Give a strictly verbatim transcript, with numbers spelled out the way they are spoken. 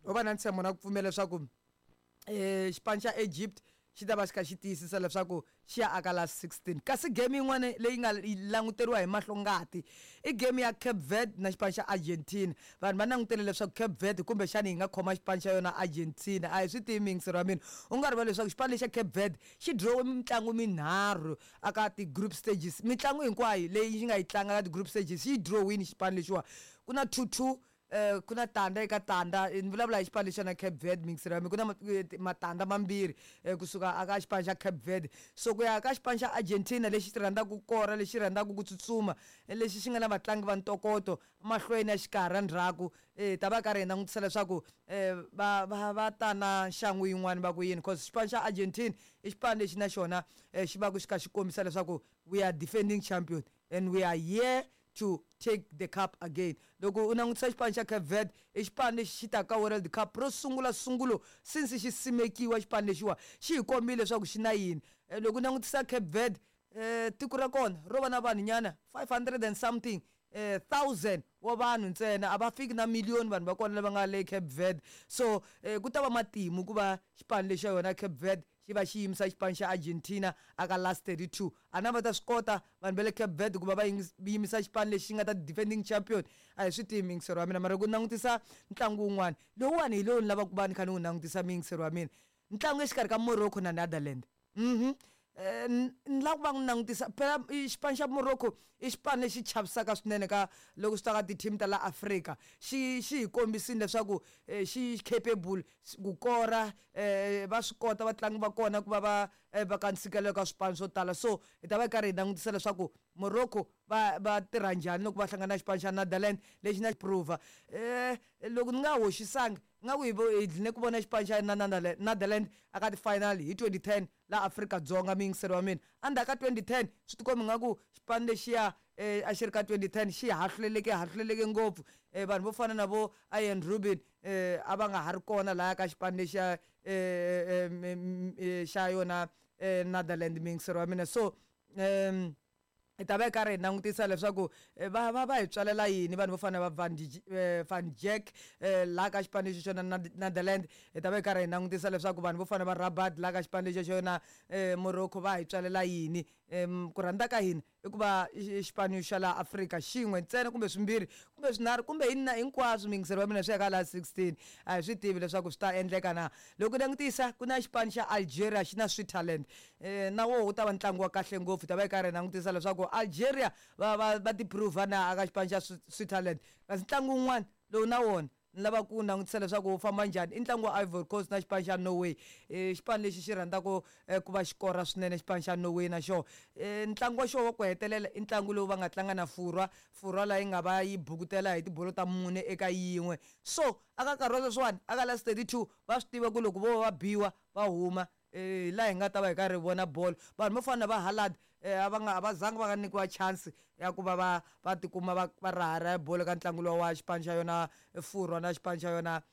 Ho va na ntshembo na ku pfumela leswaku um xipano xa Egypt xi ta va xi kha xi tiyisisa leswaku xi ya aka last sixteen. Kasi game yin'wana leyi nga languteriwa hi mahlo ngati i game ya Cape Verde na xipano xa Argentina. Vanhu va langutele leswaku Cape Verde kumbexani yi nga khoma xipano xa yona Argentina. A hi swi tivi miyingiseri wa mina, u nga rivali leswaku xipano lexa Cape Verde xi dirowe mitlangu minharhu aka ti-group stages. Mitlangu hinkwayo leyi xi nga yi tlanga ka ti-group stages xi yi dirowini xipano lexiwa. Ku na two two, eh ku na tanda eka tanda, ni vulavula hi xipano lexiya na Cape Verde miyingiseri wa mina. Ku na matandza mambirhi kusuka aka xipano xa Cape Verde. So ku ya ka xipano xa Argentina lexi xi rhandzaka ku kora, lexi rhandzaka ku tsutsuma, lexi xi nga na vatlangi va ntokoto mahlweni ya xikarhi ndzhaku, eh ta va karhi hi langutisa leswaku va va va ta na nxangu yin'wani va ku yini, cause xipano xa Argentina i xipano lexi na xona xi va ku xi kha xi kombisa leswaku we are defending champion and we are here to take the cup again. Loko u langutisa xipano xa Cape Verde i xipano lexi xi taka ka World Cup ro sungula sungulo since xi simekiwa. Xipano lexiwa xi hi kombile leswaku xi na yini. Loko u langutisa Cape Verde, eh tiko ra kona ro va na vanhu nyana five hundred and something eh thousand wa vanhu ntsena, a va fiki na million vanhu va kona lava nga le Cape Verde. So eh, ku ta va matimu ku va xipano lexa yona Cape Verde xi va xi yimisa xipano xa Argentina aka last thirty-two. A na va ta swi kota vanhu va le Cape Verde ku va va yimisa xipano lexi nga ta defending champion? A hi swi tivi miyingiseri wa mina. Mara ku langutisa ntlangu wun'wana lowuwani hi lowu ni lavaka ku va ni kha ni wu langutisa miyingiseri wa mina, ntlangu exikarhi ka Morocco na Netherland. Mhm ni lava ku va n'wi langutisa phela xipano xa Morocco i xipano lexi chavisaka swinene ka loko swi ta ka ti-team ta la Afrika. Xi xi hi kombisile leswaku xi capable ku kora, eh va swi kota vatlangi va kona ku va va va ka ntshikelelo ka swipano swo tala. So hi ta va karhi hi langutisa leswaku Morocco va va tirha njhani loko va hlangana na xipano xa Netherland lexi na prova. Eh loko ni nga hoxisangi nga ku hi hi dline ku vona xipano xa Netherland aka ti-final hi twenty ten la Afrika-Dzonga miyingiseri wa mina. Endzhaku ka twenty ten swi tikomba nga ku xipano lexiya a xi ri ka twenty ten xi hahluleleke hahluleleke ngopfu. Vanhu vo fana na vo Arjen Robben a va nga ha ri kona laya ka xipano lexiya xa yona Netherland miyingiseri wa mina. So um hi ta va hi karhi hi langutisa leswaku va va va hi tswalela yini vanhu vo fana na va Van Van Dijk laha ka xipano lexi xona Netherland. Hi ta va hi karhi hi langutisa leswaku vanhu vo fana va Rabat laha ka xipano lexi xona Morocco va hi tswalela yini. Ku rhandza ka hina i ku va xipano xa laha Afrika xin'we ntsena kumbe swimbirhi kumbe swinharhu kumbe hina hinkwaswo miyingiseri wa mina swi ya ka laha sixteen. A hi swi tivi leswaku swi ta endleka na. Loko langutisa ku na xipano xa Algeria xi na Switzerland, na woho wu ta va ntlangu wa kahle ngopfu. Hi ta va hi karhi hi langutisa leswaku Algeria va va va ti prove na aka xipano xa Switzerland. Kasi ntlangu wun'wana lowu na wona ni lava ku langutisa leswaku wu famba njhani i ntlangu wa Ivory Coast na xipano xa Norway. Xipano lexi xi rhandzaka ku va xi kora swinene xipano xa Norway na xona. Ntlangu wa xona wa ku hetelela i ntlangu lowu va nga tlanga na Furwa, Furwa laha yi nga va yi bukutela hi tibolo ta mune eka yin'we. So aka nkarhi wa sweswiwani aka last thirty-two va swi tiva ku loko vo va biwa va huma hi laha hi nga ta va hi karhi hi vona bolo. Vanhu vo fana na va Haaland a va nga a va zanga va nga nyikiwa chance ya ku va va va tikuma va va raharaha bolo ka ntlangu lowa wa xipano xa yona Furwa na xipano xa yona